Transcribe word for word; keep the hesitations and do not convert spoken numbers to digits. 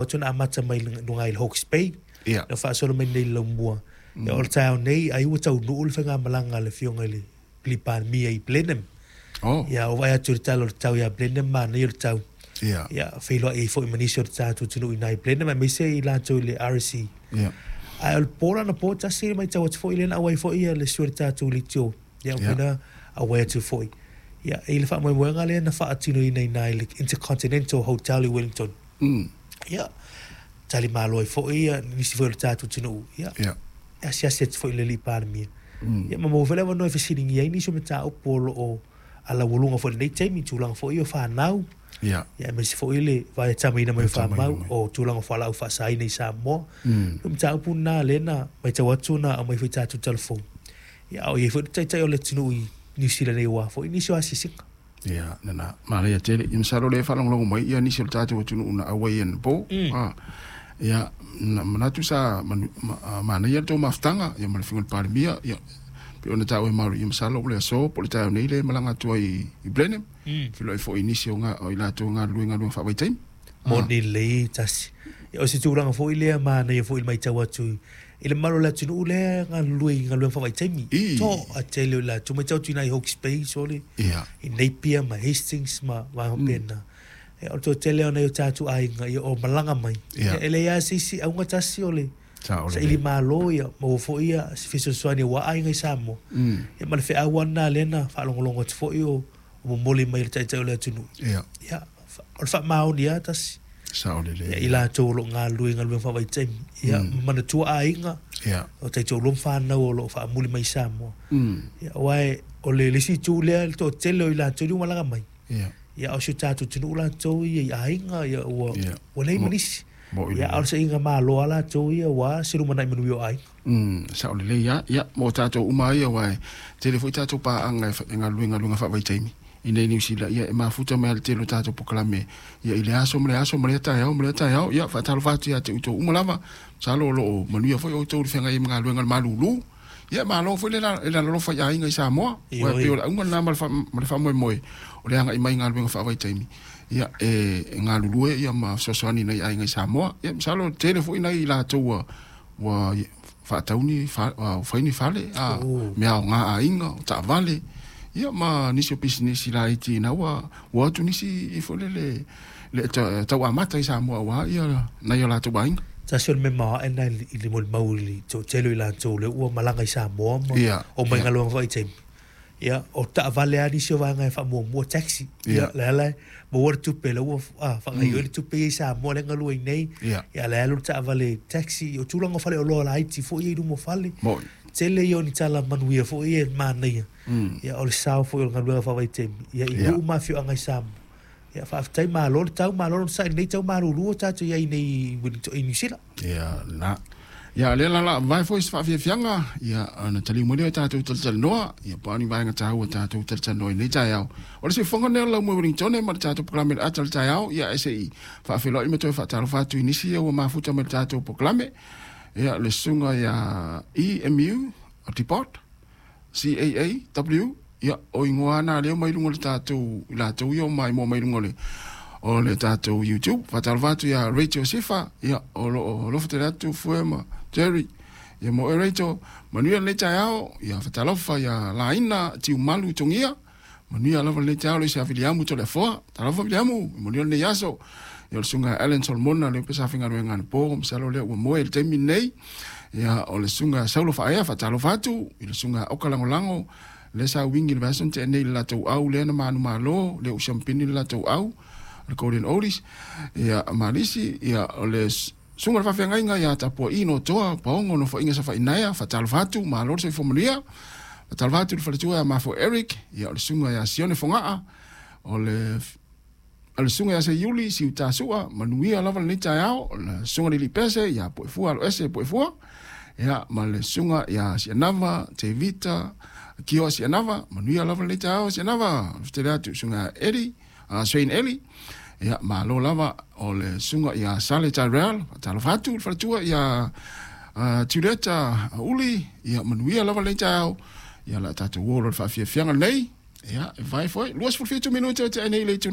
Atu na amata mai luga i le Hawke's Bay. Ia. Na faasolo mai nei i le Laumua. Ia, o le taeao nei ai ua taunuu le faigamalaga a le Afioga i le Alii Palemia i Blenheim. Oh. Ia, ua vaai atu i le tala o le tau ia Blenheim, manaia le tau. Ia. Ia, feiloai ai foi ma nisi o le tatou atunuu i ina i Blenheim aemaise i latou i le R S E. Ia. Ae o le po la anapo tasi e matau atu foi lea na auai foi le susu o le tatou leitio. Ia, Ia. na auai atu foi. Ia, i le faamoemoega lea na faatinoina i ina i le Intercontinental Hotel i Wellington. Mm. Ia, tali malo ai foi ia nisi foi o le tatou atunuu. Ia, Ia. e asiasi atu foi i le Alii Palemia. Mm. Ia, ma maua foi le avanoa e fesiligia ai nisi o mataupu o loo alaualuga foi i lenei taimi, tulaga foi o fanau. Ia. Ia, aemaise foi le vaetamaina mai o Vaetamaina famau, mai. o tulaga o fualaau faasaina i Samoa. Mm. O mataupu na lea na matau atu na aumai foi tatou talafou. Ia, a o i ai foi le taitai o le atunuu i New Zealand nei aua foi nisi o asiasiga. Ia, lena, manaia tele. Ia, masalo lea e faalogologo mai, ia nisi o le tatou atunuu na auai anapo. Mm. Ah, ia, na manatu sa manu-, ma-, ah, manaia le tou mafutaga, ia, ma le Afioga i le Palemia, ia, pe ona taua e Maori, ia, masalo o le aso, po o le taeao nei le malaga atu ai i, i Blenheim. Mm. Feiloai foi i nisi o ngā, o i latou galulue galuega faavaitaimi. Moni lelei tasi. Ia, o se tulaga foi lea manaia foi i le matau atu i, i le mamalu o le atunuu lea galulue i galuega faavaitaimi. I. To a tele o latou matau atu i nai Hawke's Bay, sole, Ia. i Napier ma Hastings ma vaega Mm. faapena. Ia, o le toatele o nai o tatou aiga, ia, o malaga mai. Ia. Ia, e leai lava se isi auga tasi o le Sa o le saili malo, ia, maua foi ia se fesoasoani aua aiga i Samoa. Mm. Ia, ma le feau lena lea na faalogologo atu foi o, o momoli mai le taitai o le atunuu. Ia. Ia, fa-, o le faamaoni lava tasi. Sa o le lelei. Ia, i latou o loo galulue i galuega faavaitaimi. Ia, Mm. manatua aiga, Ia. o taitoalua ma fanau o loo faamuli mai i Samoa. Mm. Ia, aua e, o le le isi itu lea, le toatele o i latou li ua malaga mai. Ia. Ia, o si o tatou atunuu latou ia i aiga, ia, ua, Ia. ua leai ma Mo- nisi. mo i Ia, le- a o le sailiga malo a latou ia, ua se lumanai manuia o aiga. Mm, sa o lelei lava. Ia, mo tatou uma ia, aua e tele foi tatou paaga e fa-, e galulue galuega faavaitaimi. I nei New Zealand, ia, e mafuta mai le tele o tatou polokalame. Ia, i le aso ma le aso ma lea taeao ma lea taeao. Ia, faatalofa atu ia te outou uma lava. Masalo o loo manuia foi outou i le feagai ma galuega o le malūlū. Ia, malo foi le la-, le lalolofa i aiga i Samoa. Ioe. Ua e pei o le auga lena ma le fa-, ma le faamoemoe o le agai mai galuega faavaitaimi. Ia, e, e galulue ia ma fesoasoani nei aiga i Samoa. Ia, masalo tele foi nai latou ua, ua faatauni fa-, ua faini fale, a, Oh. mea o ngā aiga, o taavale. Ia, ma nisi o pisinisi laiti ina ua, ua atu nisi i foi le, le, le ta-, tau amata i Samoa ua, ia, nai o latou aiga. Tasi o le mea maoae na i le molimau i le toatele o i latou lea ua malaga i Samoa ma Ia, o mai ia. galuega faavaitaimi. Ia, o taavale lava nisi o vaega e faamuamua taxi. Ia, Ia. le ala e maua le tupe, le ua, ah, faagaoioi Mm. le tupe ia i Samoa lea e galue ai nei. Ia. Ia, le alu le taavale taxi, o tulaga o faleoloa laiti foi ia i luma o fale. Moi. Tele ia o ni tala manuia foi ia e manaia. Mm. Ia, o le sao foi o le galuega faavaitaimi. Ia, i Ia. nuu ma afioaga i Samoa. Ia, faafetai malo le tau, malo le saili nei tau malūlū o tatou iai nei i Wellington, i New Zealand. Ia, la. Ia, lea la la, vai foi se faafiafiaga, ia, ona taliu mai lea o tatou talatalanoa, ia, po o ni vaega taua tatou talatalanoa i nei taeao. O le siufofoga lenei o le Laumua i Wellington ma le tatou polokalame le ata o le taeao, ia, e se i faafeiloai ma toe faatalofa atu i nisi ia ua mafuta mai le tatou polokalame. Ia, le susuga ia E M U, o Depot, C A A W, ia, o ingoa na lea mai luga o le tatou, i latou ia o mai moa mai luga o le, o le tatou YouTube. Faatalofa atu ia Rachel Sifa, ia, o lo o alofa tele atu Fue ma Jerry. Ia, mo e Rachel, manuia lenei taeao, ia, faatalofa ia Laina Tiumalu Tongia, manuia lava lenei taeao le isi a Viliamu Toleafoa. Talofa Viliamu, manuia lenei aso. Ia, o le susuga Alan Solomona, lea pe sa faigaluega anapo, masalo lea ua moe i le taimi lenei. Ia, o le susuga Saulo Faaea, faatalofa atu, i le susuga Oka Lagolago, lea sa uigi le vaiaso na tea nei i le latou au, lea na manumalo, lea ua siampini le latou au, le Golden Oldies. Ia, Malisi, ia, o le s-, susuga le faafeagaiga ia Tapua'i no Toa, Paogo no Foaiga Safainaea, faatalofa atu, malo le soifua manuia. Faatalofa atu i le faletua ia Mafo Eric, ia, o le susuga ia Sione Fogaa, o le f-, o le susuga ia Seiuli, Siutasua, manuia lava lenei taeao, o le susuga Lili Pese, ia Poefua, alo ese Poefua. Ia, ma le susuga ia Sianava, Tevita, Kioa Sianava, manuia lava lenei taeao Sianava. Fetele atu susuga Eli, uh, Shane Eli. Ia, malo lava o le susuga ia Sale Tyrell, faatalofa atu le faletua ia, uh, Julieta Uli, ia, manuia lava lenei taeao. Ia, la tatou o lo le faafiafiaga lenei. Ia, e vai foi, luasefulu fitu minute o te nei le itula.